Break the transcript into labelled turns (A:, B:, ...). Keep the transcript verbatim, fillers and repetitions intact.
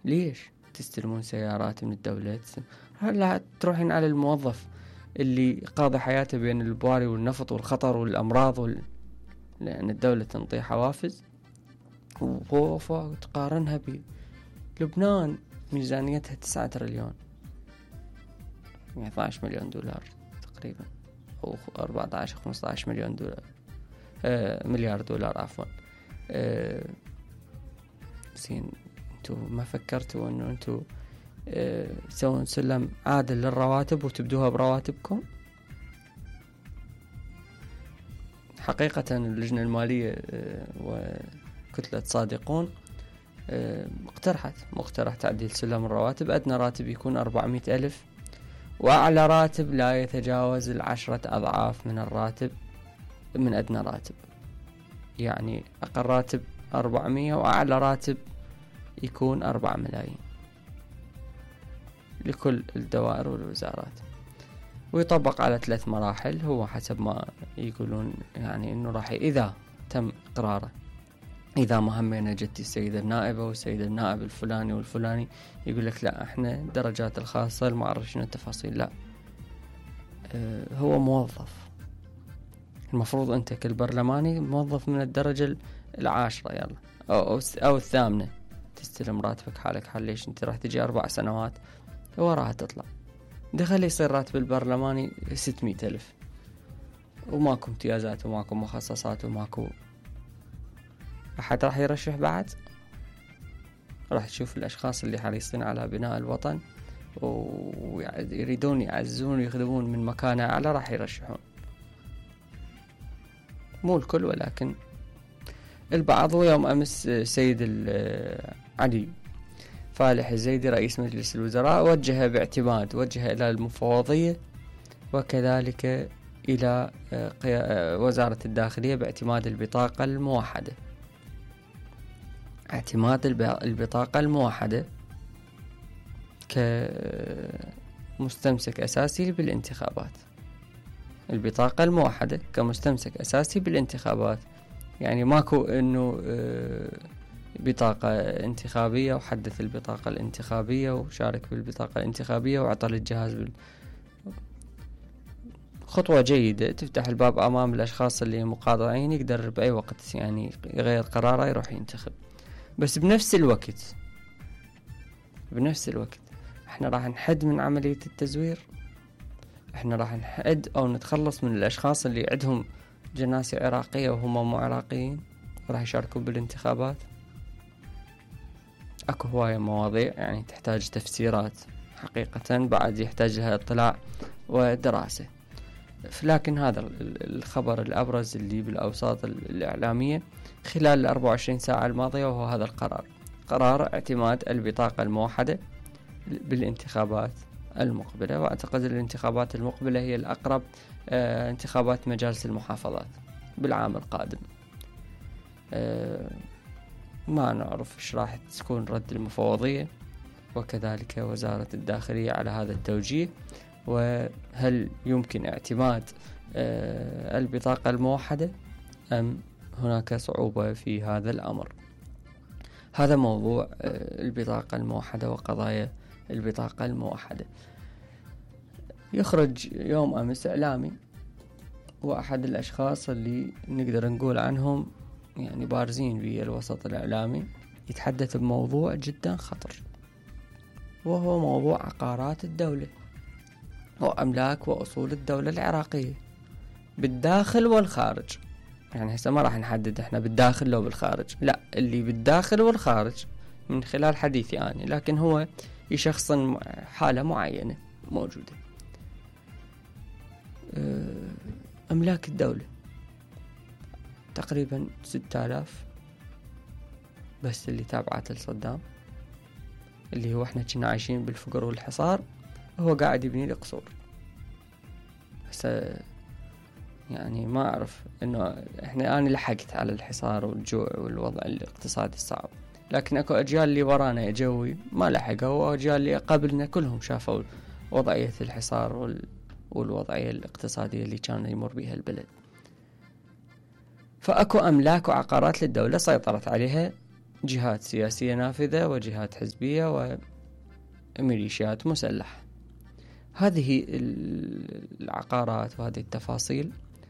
A: ليش تستلمون سيارات من الدولة؟ هلا تروحين على الموظف اللي قاضي حياته بين البواري والنفط والخطر والأمراض وال... لأن الدولة تنطي حوافز، وتقارنها بلبنان ميزانيتها تسعة تريليون، يعني اثني عشر مليون دولار تقريبا، أو أربعة عشر خمسة عشر مليون دولار، آه مليار دولار عفوا. آه زين، انتو ما فكرتوا انه انتو آه تسوون سلم عادل للرواتب وتبدوها برواتبكم؟ حقيقة اللجنة المالية آه وكتلة صادقون آه اقترحت مقترح تعديل سلم الرواتب. أدنى راتب يكون أربعمائة ألف، وأعلى راتب لا يتجاوز العشرة أضعاف من الراتب من أدنى راتب، يعني أقل راتب أربعمية وأعلى راتب يكون أربعة ملايين لكل الدوائر والوزارات، ويطبق على ثلاث مراحل. هو حسب ما يقولون يعني إنه راح إذا تم إقراره، إذا ما همينا جت السيدة النائبة والسيد النائب الفلاني والفلاني يقول لك لا احنا الدرجات الخاصة ما أعرف شنو التفاصيل، لا اه هو موظف، المفروض أنت كالبرلماني موظف من الدرجة العاشرة يلا أو, أو, أو الثامنة تستلم راتبك حالك حال. ليش انت راح تجي أربع سنوات وراها تطلع دخل يصير راتب البرلماني ستمائة ألف، وماكو امتيازات وماكو مخصصات وماكو أحد راح يرشح بعد. راح تشوف الأشخاص اللي حريصين على بناء الوطن ويريدون يعزون ويخدمون من مكانة أعلى راح يرشحون، مو الكل ولكن البعض. ويوم أمس سيد علي فالح الزيدي رئيس مجلس الوزراء وجه باعتماد وجه إلى المفوضية وكذلك إلى وزارة الداخلية باعتماد البطاقة الموحدة، اعتماد البطاقة الموحدة كمستمسك أساسي بالانتخابات. البطاقة الموحدة كمستمسك أساسي بالانتخابات، يعني ماكو إنه بطاقة انتخابية وحدث البطاقة الانتخابية وشارك بالبطاقة الانتخابية وعطل الجهاز بال... خطوة جيدة تفتح الباب أمام الأشخاص اللي مقاطعين يقدر بأي وقت يعني يغير قراره يروح ينتخب. بس بنفس الوقت بنفس الوقت احنا راح نحد من عملية التزوير، احنا راح نحد او نتخلص من الاشخاص اللي عندهم جناسي عراقية وهم مو عراقيين راح يشاركون بالانتخابات. اكو هواية مواضيع يعني تحتاج تفسيرات حقيقة، بعد يحتاج لها اطلاع ودراسة. لكن هذا الخبر الابرز اللي بالاوساط الاعلامية خلال الأربع وعشرين ساعة الماضية، وهو هذا القرار، قرار اعتماد البطاقة الموحدة بالانتخابات المقبلة. واعتقد الانتخابات المقبلة هي الأقرب، اه انتخابات مجالس المحافظات بالعام القادم. اه ما نعرف ايش راح تكون رد المفوضية وكذلك وزارة الداخلية على هذا التوجيه، وهل يمكن اعتماد اه البطاقة الموحدة أم هناك صعوبة في هذا الأمر. هذا موضوع البطاقة الموحدة وقضايا البطاقة الموحدة. يخرج يوم أمس إعلامي وأحد الأشخاص اللي نقدر نقول عنهم يعني بارزين بالوسط الإعلامي يتحدث بموضوع جدا خطر، وهو موضوع عقارات الدولة وأملاك وأصول الدولة العراقية بالداخل والخارج. يعني هسه ما راح نحدد احنا بالداخل لو بالخارج، لا اللي بالداخل والخارج من خلال حديثي أنا، لكن هو يشخص حالة معينة موجودة. أملاك الدولة تقريبا ستة آلاف بس اللي تابعت لصدام، اللي هو احنا كنا عايشين بالفقر والحصار، هو قاعد يبني لي قصور. هسه يعني ما أعرف إنه إحنا أنا لحقت على الحصار والجوع والوضع الاقتصادي الصعب، لكن أكو أجيال اللي ورانا جوي ما لحقوا، وأجيال اللي قبلنا كلهم شافوا وضعية الحصار وال... والوضعية الاقتصادية اللي كان يمر بها البلد. فأكو أملاك وعقارات للدولة سيطرت عليها جهات سياسية نافذة وجهات حزبية وميليشيات مسلحة. هذه العقارات وهذه التفاصيل